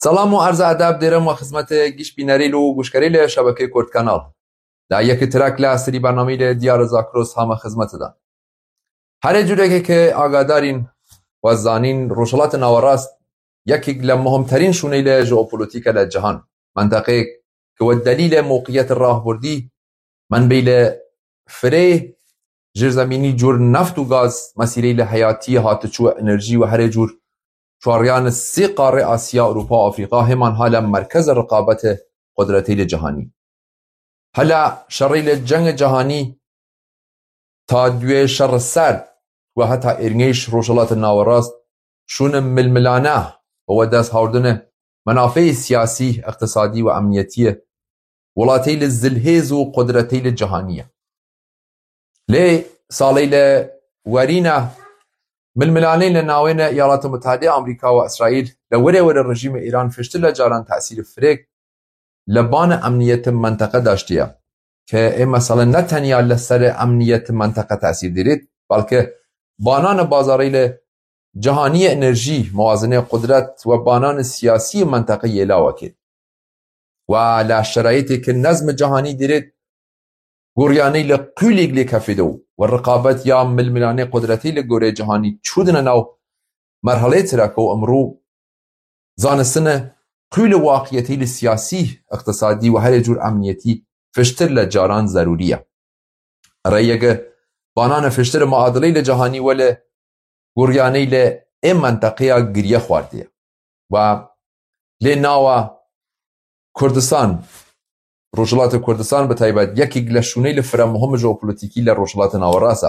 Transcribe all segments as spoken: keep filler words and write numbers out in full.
Selam û erza edeb dêrim we xizmetê giş bînerî û guşkerî li şebekê Kurd Kanal. La yekî tirak la serî bernameyî li Diyar Zakros hame xizmetê de. Herê cûrekê ke agadarîn we zanîn, Rojhilatê Nawerast yekîk le muhimterîn şûneyê jeopolotîke le cihan. Menteqeyek ke we delîle mewqiyetê rahburdî, menbeyî le firê, jirzemînî cûr neft û gaz, mesîreyî le heyatî, hatiçû enerjî we herê cûr çuariyan sê qarê Asya, Ewropa, Afrîka, hêman hala merkeze riqabete qudretê le cihanî. Hela şerê le cengê cihanî ta duyê şer serd we heta êrngêş Rojhilatê Nawerast şûne milmilane û we dest hawrdine menafeyê siyasî, iqtisadî û emniyetî ye welatê li zilhêz û qudretê li cihanî ye. Lê salê li werîne milmilanê li navêne Îyalatê Mutehedê Amerîka û Îsraîl li were were rejîmê Îran fiştir le caran tesîrê firêk li bana emniyetê menteqe daştiye. Ke ê mesele ne tenya li serê emniyetê menteqe tesîr dîrît, belke bananê bazarê li cihanî enerjî, muwazinê qudret we bananê siyasî menteqe yê lawekê. We la şerayîtê ke nezmê cihanî dîrêt goryanî li qûlîk lê kefê de û we riqabet ya milmilanê qudretî li gorê cihanî çûdine nav merhelê tirake û emrû zanistine qûlê waqiyetî li siyasî, iqtisadî û herê cûr emniyetî fiştir le caran zerûrî ye. Reyege banane fiştir muadilê li cihanî wele guryanê le ê menteqeya giriye xwardiye. Ve lê nawa Kurdistan, Rojhilatê Kurdistan bi taybet yekî le şûnê li fire muhim jeopolotîkî le Rojhilatê Nawerast e.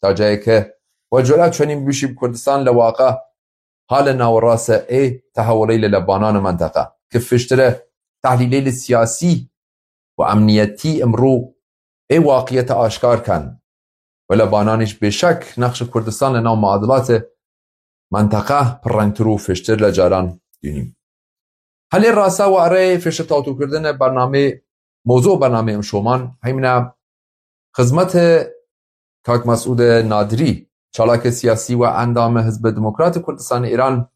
Ta cayê ke we cura çenî bibîşî bi Kurdistan le waqa hale nawerast e ê tehewulê le le banane menteqe. Ki fiştire tehlîlê li siyasî û emniyetî imrû ê waqiyete aşkar ken. Wele bananîş bêşek nexşê Kurdistan li nav muadilatê menteqe pirrengtir û fiştir le caran dînî. Helê rasa we erê fiştir tawtûkirine bernamê, mewzû bernamê imşoman heymine xizmetê Kak Mesûdê Nadirî, çalakê siyasî we endamê Hizbê Demokratê Kurdistanê Îran,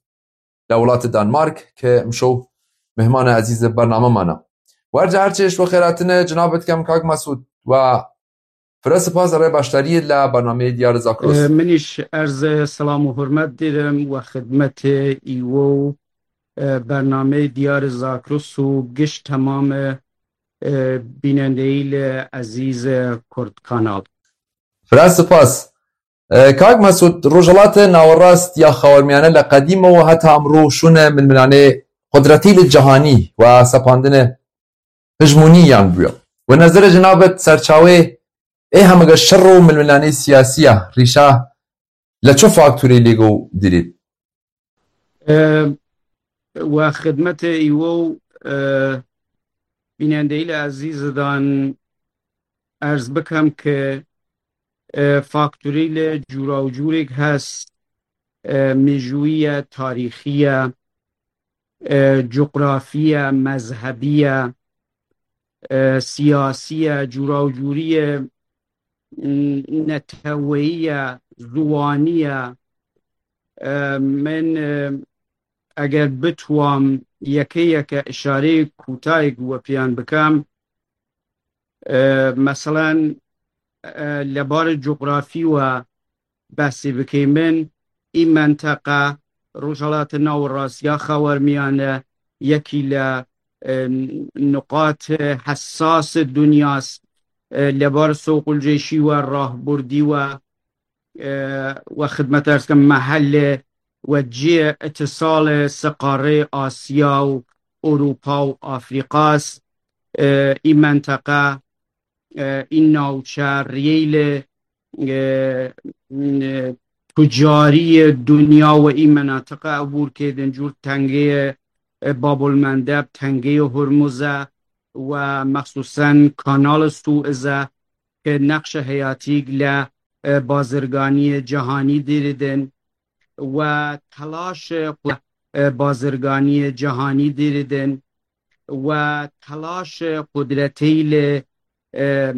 li welatê Danmark ke imşew mihmana ezîzê bername mane. Werca her çi ji we xêratine cinabê dikem Kak Mesûd, we fire spas erê beşdariyê li bernameyê Diyar Zakros. E, min îş erz selam û hurmet dêrim we xidmetê îwo û, e, bernameyê Diyar Zakros û giş temamê, e, bînendeyî li ezîz, e, Kurd Kanal. Fire spas. E, Kak Mesûd, Rojhilatê Nawerast ya Xawermiyane li qedîme û heta emrû şûne milmilanê qudretî li cihanî û sepandine hijmonî yan bûye. We nezerê cinabet serçawê ê hemege şer û milmilanê siyasî ya rîşa li çi faktorê lêgo dirît? E, we xidmetê îwo, e, bînendeyî li ezîzidan erz bikem ke, e, faktorî li cûra û cûrêk hest, e, mijûyî ye, tarîxî ye, e, cografî ye, mezhebî ye, e, siyasî ye, cûra û cûrî ye, n-, neteweyî ye, ziwanî ye. E, min, e, eger bitwam yeke yeke îşareyê kûtayek we pêyan bikem, e, meselen, e, li bar cografî we behsê bikê min, î menteqa Rojhilatê Nawerast ya Xawermiyane yekî li, e, nuqat hessas dinyas, e, li bar soqulcêşî we, rahburdî we, e, we xidmet erz kim, mehelle we cihê îtisalê siqarê Asya û Ewropa û Afrîkas, e, î menteqa, e, î navçe riyê li, e, e, tucariyê dinya we î menatiqe ebûr kê din cûr tengeyê, e, Babul Mendeb, tengeyê Hurmuz e we mexsusen Kanal Suez e ke nexşe heyatîk le, e, bazirganiyê cihanî dîridin we telaş, e, bazirganiyê cihanî dîridin we telaş qudretê li, e,